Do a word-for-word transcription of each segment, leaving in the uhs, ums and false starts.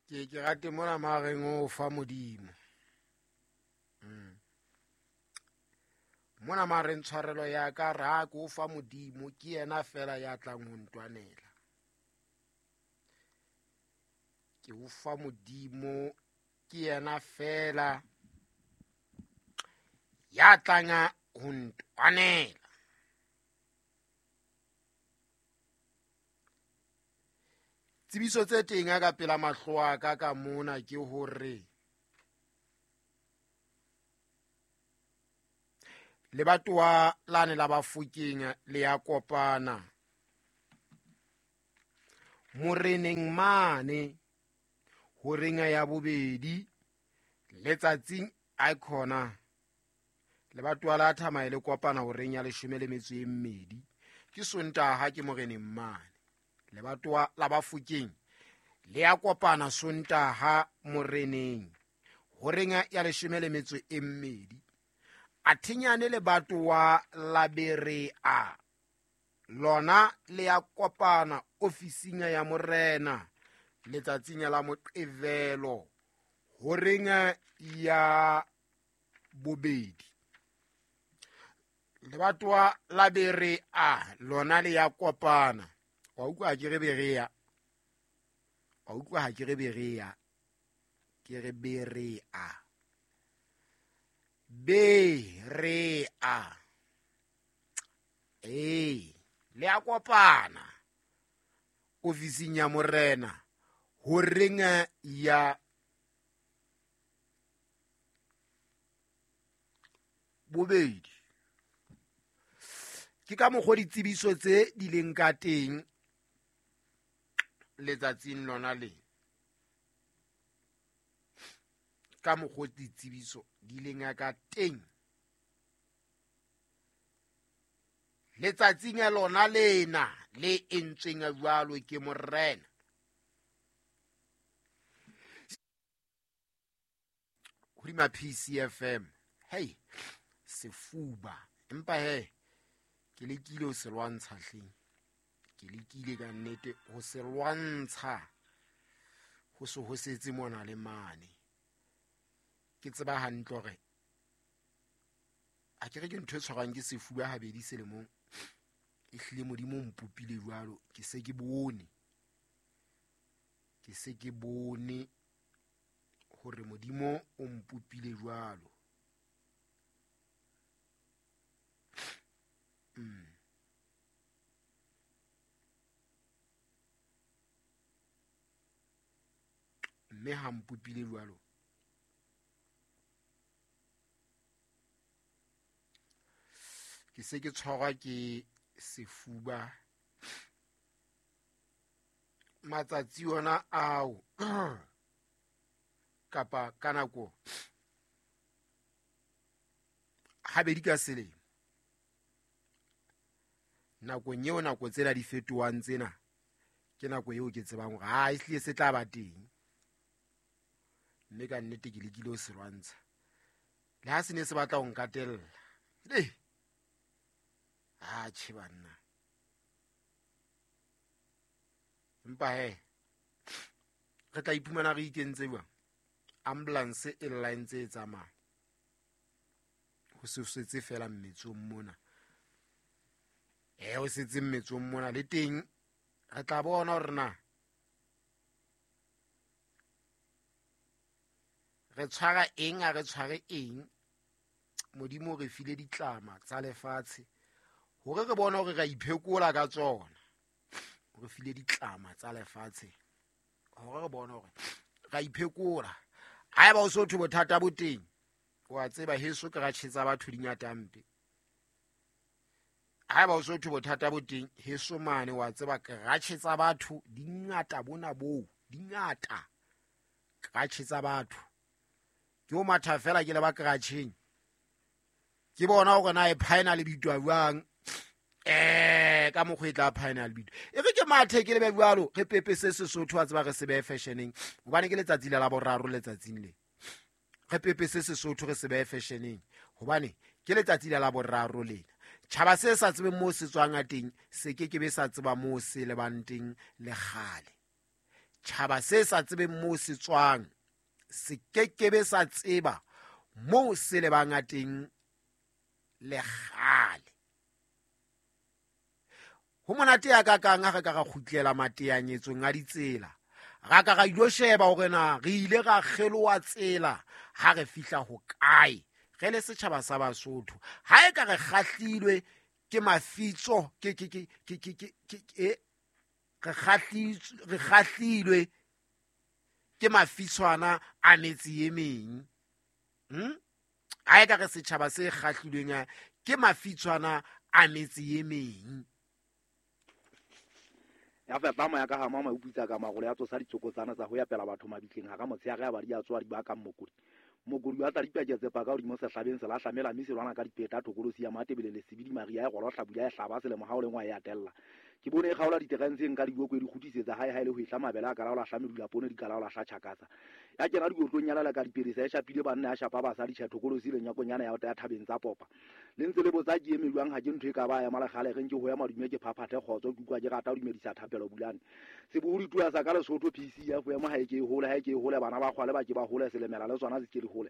Ke ke rate mona mareng o fa Modimo. Mm. Mona mareng tshwarelo ya ka ra ko fa Modimo ke yena fela ya tlang ho ntwanela. Ke o fa Modimo ke yena fela ya tlang ho ntwanela. Tsebiso tse teng ka pela mahlo a ka ka mona ke hore lebatowa lane la Bafokeng le ya kopana moreneng mane horeng ya bobedi letsatsing icona lebatowa la Thamae le kopana horeng ya leshome le metso e mmedi ke Sontaha ke moreneng mane. Lebatowa la Bafokeng le ya kopana Sontaha moreneng horeng ya leshome le metso e mmedi. Athinyane lebatowa la Berea lona le ya kopana ofising ya morena letsatsing la Moqebelo horeng ya bobedi. Lebatowa la Berea lona le ya kopana. Wa utlwa ke re Berea, wa utlwa ha ke re Berea, ke re Berea, Berea. Eh, le a kopana ofising ya morena horeng ya bobedi. Ke ka mokgwa ditsebiso tse di leng ka teng letsatsing lona le. Ka mokgwa ditsebiso di leng ka teng letsatsing lona lena le entsweng jwalo ke morena. Hodima P C F M. Hey, sefuba. Empa he, ke lekile ho se lwantsha hleng. Ke lekile ka nnete ho se lwantsha. Ho se ho setse mona le mane. Ke tseba hantle hore a ke re ke ntho e tshwarwang ke sefuba habedi selemong. E hlile Modimo o mpopile jwalo, ke se ke bone. Ke se ke bone hore Modimo o mpopile jwalo. Mm. Mme ha mpopile jwalo, ke se ke tshwarwa ke sefuba matsatsi ona ao kapa ka nako habedi ka selemo. Nakong eo nako tsena di fetohang tsena ke nako eo ke tsebang hore ha e hlile se tla ba teng. Mme ka nnete ke lekile ho se lwantsha. Le ha se ne se batla ho nkatella. Le ha tjhe banna. Empa he, re tla iphumana re ikentse jwang? Ambulance e lla e ntse e tsamaya. Ho se setse fela mmetsong mona. Eh, ho setse mmetsong mona le teng re tla bona hore na re tshwara eng, ha re tshware eng. Modimo o re file ditlama tsa lefatshe hore re bone hore re a iphekola ka tsona. O re file ditlama tsa lefatshe hore re bone hore re a iphekola. Haeba o so thwe bothata bo teng, wa tseba heso ke ra tjhetsa batho dingata mpe. Haeba o so thwe bothata bo teng heso mane, wa tseba ke ra tjhetsa batho dingata bona boo, dingata. Ke ra tjhetsa batho. Ke o matha fela ke le ba kratjheng. Ke bona hore na e phaena le bitwa jwang. Eh, ka mokgwa e tla phaena le bitwa. E re ke mathe ke lebe jwalo, re pepese Sesotho a tseba re se behe fashioneng. Hobane ke letsatsi la boraro letsatsing le. Re pepese Sesotho re se behe fashioneng. Hobane ke letsatsi la boraro lena. Tjhaba se sa tsebeng moo se tswang a teng, se ke ke be sa tseba moo se lebang teng le kgale. Tjhaba se sa tsebeng moo se tswang se kekebe sa tseba moo se lebang teng le kgale. Ho monate ya ka kang ha re ka ra kgutlela mateanyetsong a ditsela, ra ka ra ilo sheba hore na re ile ra kgeloha tsela ha re fihla hokae re le setjhaba sa Basotho. Ha e ka re kgahlilwe ke mafitso ke ke ke ke ke ke ke re kgahlitswe re kgahlilwe ke mafitshwana a metse e meng. Hm? Ha e ka re setjhaba se kgahlilweng ke mafitshwana a metse e meng. Ya fepa moya ka ha mama o putsa ka magolo ya tsosa ditsokotsana tsa ho ya pela batho mabitleng ha ka motshehare ya ba di a tswa di ba ka mokodi. Mokodi wa tla dipaketse pa ka hodimo sehlabeng se lahlamela mme se lwana ka dipeta thokolosi ya Matebele le Sebidi Maria ya golo hlabula ya hlaba selemo ha o lengwa ya tella. Ke bone e kgaola diterenseng ka diboko e di kgutisetsa hae hae le ho ihla mabele a ka laola hla medula poone di ka laola hla tjhakasa. Ya kena dikotlong ya lala ka diperesa e shapile banna ya shapa basadi tjhe thokolosi le nyakonyana ya ya thabeng tsa popa. Le ntse le botsa ke eme jwang ha ke ntho e ka ba ya malekgale re nke ho ya madume ke phaphathe kgotso ke utlwa ke rata ho dumedisa thapelo bulane. Sebohodi tua sa ka Lesotho P C ya ho ema ha e ke e hole ha e ke e hole bana ba kgwale ba ke ba hole selemela le tsona se ke di hole.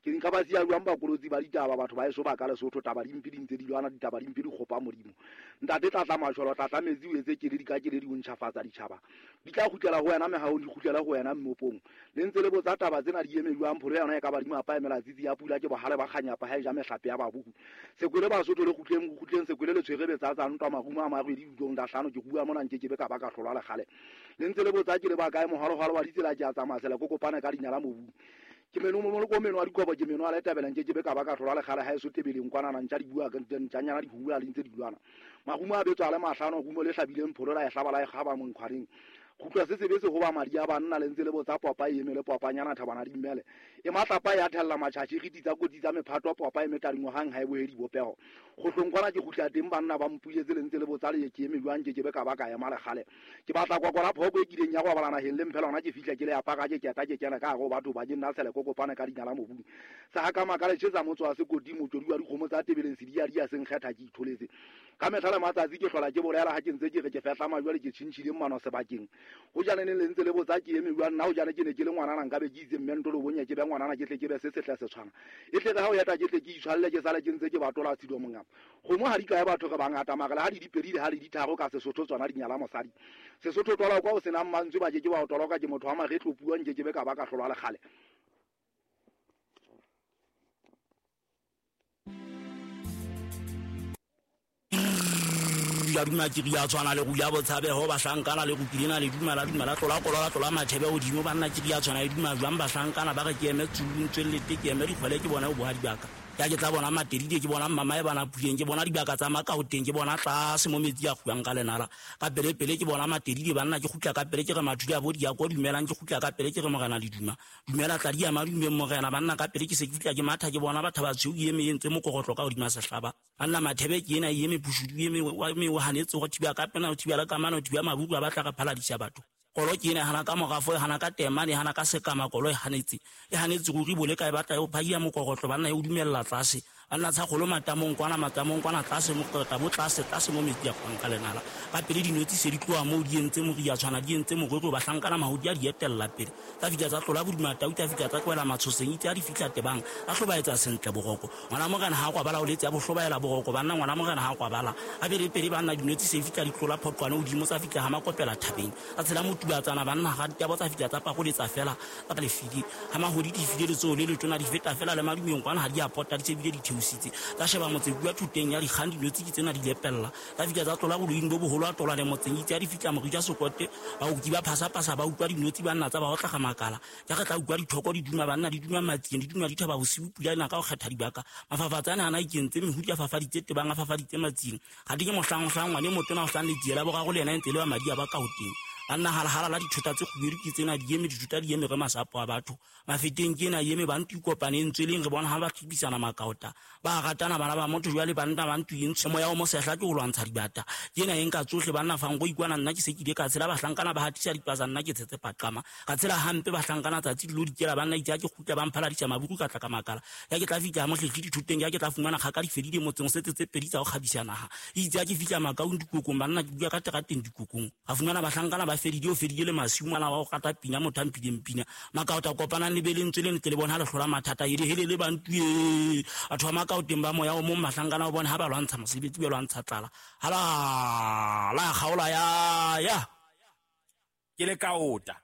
Ke nka ba siya jwang bakolotsi ba ditaba batho ba eso ba ka Lesotho taba dimpe di ntse di lwana ditaba dimpe di kgopa Modimo. Ntate tlatla masholo tlatla metsi o etse keledi ka keledi o ntjhafatsa ditjhaba. Di tla kgutlela ho wena mehahong di kgutlele ho wena mmopong. Le ntse le botsa taba tsena di eme jwang pholo yona e ka ba di mapa emela tsitsi ya pula ke bohale ba kganyapa ha e ja mehlape ya babuku. Sekwele Basotho le kgutleng kgutleng sekwele le tshwere betsa tsa ntwa marumo a marwedi dulong da hlano ke bua mona nke ke be ka ba ka hlolwa le kgale. Le ntse le botsa ke le ba kae mohalohalo wa ditsela ke a tsamaya sela kokopane ka dinyala mobung. Ke meno mo mo meno a dikobo ke meno a le tabela nke ke be ka ba ka hlolwa le kgale ha e so tebeleng kwana na ntja di bua ka ntjanyana di hula le ntse di lwana. Marumo a betswa le mahlano rumo le hlabileng pholo la e hlaba la e kgaba monkhwareng. Kgutlwa se sebe se ho ba madi a banna le ntse le botsa popa e eme le popanyana thabana di mmele. E matlapa ya thella matjhatjhi re ditsa kotsi tsa mephato popa e metadingwahang ha e bohe dibopeho. Kgohlong kwana ke kgutla teng banna ba mpuletse le ntse le botsa le ke eme jwang ke ke be ka ba ka ema le kgale. Ke batla kwakwala phoko e kileng ya go bala naheng le mphela hona ke fihla ke le apara ke keta ke kena ka hare ho batho ba ke nna tshele kokopane ka dinyala mobung. Sa ha ka makale tjhetsa motso wa sekoti motswedi wa dikgomo tsa tebeleng se di ya di ya seng kgetha ke itholetse. Ka mehla le matsatsi ke hlola ke bolela ha ke ntse ke re ke fehla majwale ke tjhintjhileng mano sebakeng. Ho jane ne le ntse le botsa ke eme jwang nna ho jane ke ne ke le ngwanana nka be ke itse mme ntolo bonye ke be ngwanana ke tle ke be se sehle se tshwana. E tle re ha o eta ke tle ke itshwalle ke sale ke ntse ke batola tshido mongaka. Kgomo ha di kae batho re bangata mara le ha di dipedi le ha di ditharo ka Sesotho tsona di nyala mosadi. Sesotho twala kwa o senang mantswe ba ke ke ba o toloka ke motho wa maretlo puo nke ke be ka ba ka hlolwa le kgale. Ya duma ke ria tshwana le rula botshabeho bahlankana le rupilena le duma la duma la tlola kolola tlola mathebe hodimo banna ke ria tshwana le duma jwang bahlankana ba re ke eme tsulung tswellete ke eme dikgwele ke bona o boha dibaka. Ya ke tla bona Matedide ke bona mama e bana puleng ke bona dibaka tsa Makaoteng ke bona tlase mo metsi a kguang ka lenala ka pele pele ke bona Matedide banna ke kgutla ka pele ke re mathudi a bo di ya ko dumelang ke kgutla ka pele ke re morena le duma dumela tla di ya madumeng morena banna ka pele ke se ke fihla ke matha ke bona batho ba tshweu eme e ntse mokorotlo ka hodima sehlaba banna Mathebe ke ena e eme Pushudu eme wa me o hanetse go thiba ka pena o thiba la kamano o thiba mabuku a batla ka phaladisa batho. Kolo ke ena hana ka morafo hana ka temane hana ka sekama kolo e hanetse e hanetse ruri bole ka e batla e phaia mokorotlo banna e o dumella tlase banna tsa kgolo matamong kwana matamong kwana tlase mokorotla bo tlase tlase mo metsi a kwang ka lenala ka pele dinotsi se di tloha moo di entse moria tshwana di entse morero bahlankana mahodi a di etella pele tsa fihla tsa tlola bodima tau tsa fihla tsa tlohela matshoseng itse a di fihla tebang a hlobaetsa sentle boroko ngwana morena ha kwa bala o letse a bohlobaela boroko banna ngwana morena ha kwa bala a pele pele banna dinotsi se fihla di tlola phoqwane hodimo tsa fihla ha makopela thabeng tsa tshela tubatsana banna ga ditabo tsa fihla tsa pakoletsa fela tsa lefidi ha mahodi di file letsoho le letona di feta fela le madumeng kwana ha di a pota di sebile di theositse tsa sheba motse bua thuteng ya dikgang dinotsi ke tsena di lepella tsa fihla tsa tlola boloing bo boholo a tlola le motseng itse ya di fihla morija sokote baoki ba phasapasa ba utlwa dinotsi banna tsa ba otla ga makala ja re tla utlwa dithoko di duma banna di duma matsing di duma dithaba bosiu pula ena ka go kgetha dibaka mafafatsane ana ikentse mehudi a fafaditse tebang a fafaditse matsing ga di ke mohlang mohlang ngwane motona o hlang letsiela boraro le yena e ntse le wa madi a ba ka ho teng banna halahala la dithota tse kgubedu ke tsena di eme dithota di eme re masapo a batho mafeteng ke ena eme bantu kopane ntsweleng re bona ha ba tlhibisana makaota ba ratana bana ba motho jwale banna ba ntu eng moya o mosehla ke ho lwantsha dibata ke ena eng ka tsohle banna fang go ikwana nna ke se ke ile ka tshela bahlankana ba hatisa dipasa nna ke tshetse paqama ka tshela hampe bahlankana tsatsi dilo dikela banna itse ke kgutla ba mphaladisa mabuku ka tla ka makala ya ke tla fihla mohlehle dithoteng ya ke tla fumana kgaka di fedile motseng setse tse pedi tsa ho kgabisa naha itse ke fihla makaong dikokong banna ke bua ka terateng dikokong ga fumana bahlankana ba fedile o fedile le masimo ana wa go rata pina motho a mphileng pina makaota kopanang le be lentswe le ntle le bona ha le hlola mathata ede hele le bantu e batho ba makaoteng ba moya o mong mahlankana o bone ha ba lwantsha mosebetsi ba lwantsha tlala hala la kgaola ya ya Ke le kaota.